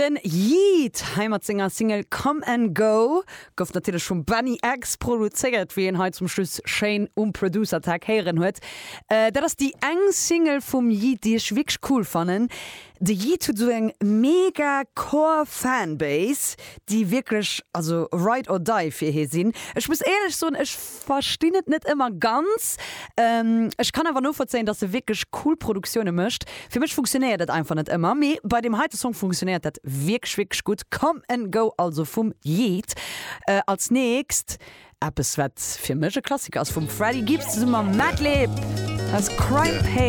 Den Yeat hei mat senger Single Come and Go, gouf natierlech vum Benny X produzéiert, wéi een hei zum Schluss schéin um Producer Tag héieren huet. Dat ass déi eng Single vum Yeat, déi ech wierklech cool fannen. De Yeat huet esou eng mega core Fanbase, déi wierklech also ride or die fir hie sinn. Ech muss éierlech soen, ech verstinn et net ëmmer ganz. Ech kann awer novollzéien, dass e wierklech cool Produktioune mécht. Fir mech funktionéiert dat einfach net ëmmer, mee bei deem heite Song funktionéiert dat wierklech, wierklech gutt. Come and Go also vum Yeat. Als nächst eppes wat fir mech e Klassiker ass, vum Freddie Gibbs zesumme mam Madlib, dat ass Crime Paid.